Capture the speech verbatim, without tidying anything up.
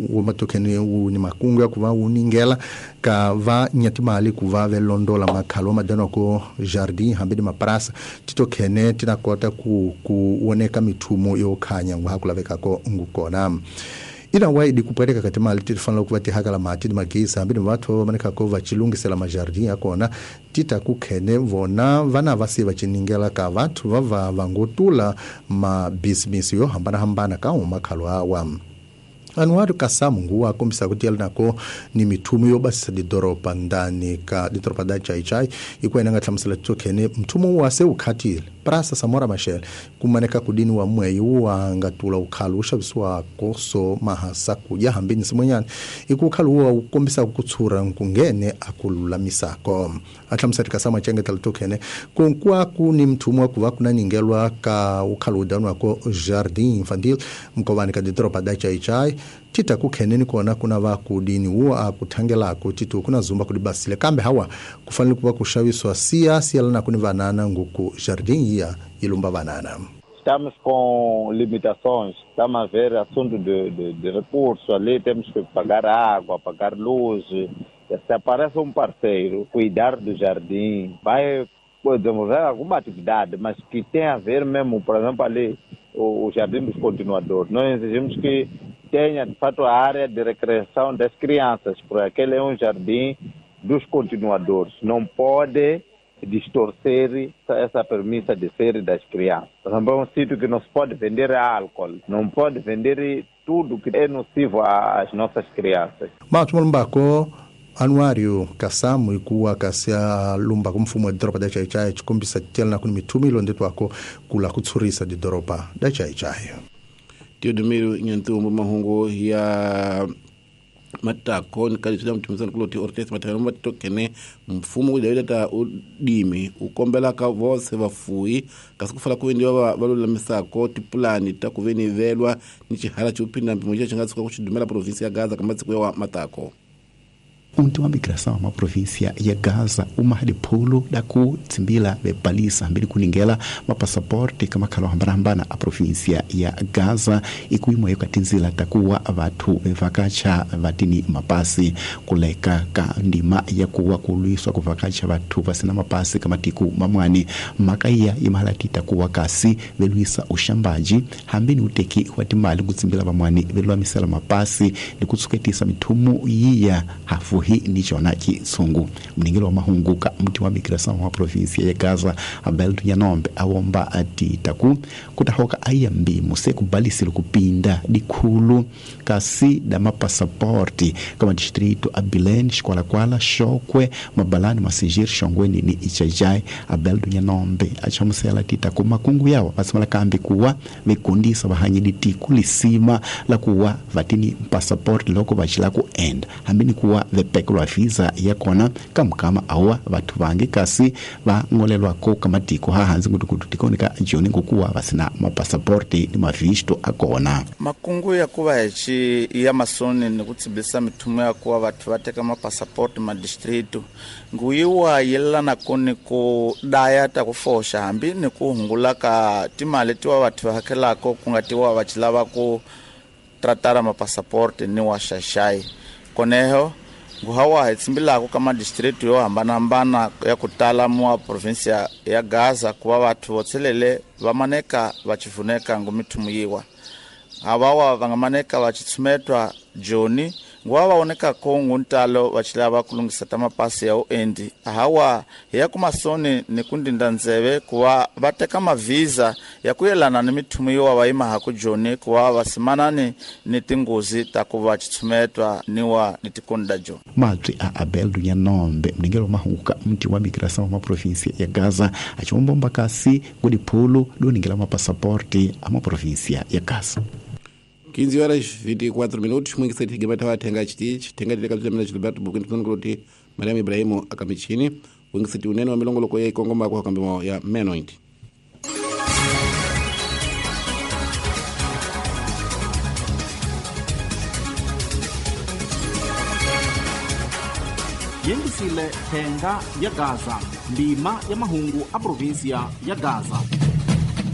Wu matokhene wu ni makungu ya ku va wu ningela ka va nyatimali ku va ve londola makhalo madano ko jardin hambi ni maprasa titokhene tina kota ku ku woneka mithumo yo khanya ngwa ku lavekako ngukona ina waidi kupeleka ka timali ti fanele ku va ti hakela mati ni magezi hambi ni vathu va maneka ko va chilungisela majardin ya kona tita ku khene vona vana va se va chiningela ka vathu va va va ngotula ma business yo hambanahambana ka umakhalo awa. Anuário Kassamu nguwa kombisa kuti yali nako ni mithumo yo basisa didoropa ndani ka didoropa da Chai-Chai ikuwa inanga hlamusela tsokhene mthumo wa se ukhatile Praça Samora Machel kumaneka kudini wa mweyi wa ngatula ukhalu ushavisiwa koso mahasa kuja hambini simwenyana iku ukhalu wa ukombisa kutsura nkungene akululamisako ahlamusela Kassamu achengetela tokhene kunkuwa kuni mthumo wa kuva kunaningelwa ka ukhalu udanwa ko Jardim Infantil mkovani ka didoropa da Chai-Chai tita kukheneni kona kuna va kudini wo akuthangelako titu kuna zumba kudibasile kambe hawa kufanele kuva kuxaviswa siya siyalana kuni vanana nguku jardim ya ilumba vanana. Estamos com limitações, estamos a ver assunto de, de, de recurso ali, temos que pagar água, pagar luz. Se aparece um parceiro, cuidar do jardim, vai desenvolver alguma atividade, mas que tem a ver mesmo, por exemplo, ali o, o jardim dos continuadores. Nós exigimos que tenha, de fato, a área de recreação das crianças, porque aquele é um jardim dos continuadores. Não pode distorcer essa premissa de ser das crianças. Por exemplo, é um sítio que não se pode vender álcool, não pode vender tudo que é nocivo às nossas crianças. Mas, Mulumbako, Anuário Kassamu ikuwa kasia lumba kumfumo wa doropa da Chai-Chai chikombisa tela kuni mithumi ilondetwako kula kutsurisa didoropa da Chai-Chai. Teodomiro Nyantumbo mahungu ya matako nikalisida mtumisana kuloti ortesi matano matokene mfumo udawida udimi ukombela ka vose vafuyi kasi kufala kuvendiwa valulamisako tipulani ta kuvenivelwa ni chihala chiupinda mpimo che chingatsuka kuchidumela provinsi ya Gaza kamatsiku ya matako. Unti wa migração ma província ya Gaza uma dipolo da ku tsimbila bepalisa mbili kuningela mapassaporte kama khalo hambana a província ya Gaza ikuimo yokatinzila takuwa vathu bevakacha vatini mapasi kuleka ka ndima ya kuwa kulwiswa kuvakacha vathu vasina mapasi kama tiku mamwani makaiya imahalati takuwa kasi velwisa ushambaji hambini uteki wa timali kutsimbila vamwani velwamisela mapasi likutsuketisa mithumu yiya hafu hi ni chona chitsungu. Mningilo wa mahungu ka mti wa migração wa província ya Gaza Abel Nyanombe awomba ati taku kutahoka ayambi muse kubalisile kupinda dikhulu kasi da mapassaporte kama distrito Abilene, Xikwakwala, Xokwe, Mabalani, Massingir, Xongweni ni Ichajai. Abel Nyanombe achamusela ti taku makungu yawo vasimala kambi kuwa vekundisa vahanyi ditiku lisima la kuwa vatini passaporte loko vachila ku enda hambini kuwa vepekelwa visa ya kona kamkama awa vathu vangi kasi va ngolelwako kamatiko hahanzi ngutukutu tikonika joni ngokuwa vasina mapassaporte ni mavisto akona. Makungu ya kuva hichi ya masoni ni kutsibisa mithumo ya kuva vathu va teka mapassaporte ma distrito nguyiwa yelana koni ku daya ta ku foxa hambi ni ku hungula ka timali tiwa vathu va hakelako ku nga tiwa va chilava ku tratara mapassaporte ni wa xaxai koneho nguhawa hi tsimbilako ka madistrito yo hambanahambana ya ku tala mua provinsia ya Gaza kuva vathu vo tshelele va maneka va chivuneka ngu mithumu yiwa havawa va nga maneka va chitshumetwa joni nguva va onekako nguntalo va chilava ku lunghisa ta mapasi ya uendi hawa hi ya kumasoni ni ku ndinda ndzeve kuva va teka mavhiza ya ku yelana ni mithumu yiwa va yimahaku joni kuva va simanani ni tinghozi ta ku va chitshumetwa ni wa ni tikoni da joni. Mabyi a Abel Nyanombe mningelo wa mahungu ka mti wa migração wa província ya Gaza achiwombomba kasi kudiphulu luningela mapassaporte a maprovíncia ya Gaza. quinze horas vinte e quatro minutos, muito cedo que vai tenga chiti, tenga de kabisa Gilberto Bukintu Ngoti, Mariam Ibrahimu akamichini, wingi siti unene wa milongo loko ya ikongo mbako kambimo ya menoint. Yengisile tenga ya Gaza, ndima ya mahungu a província ya Gaza.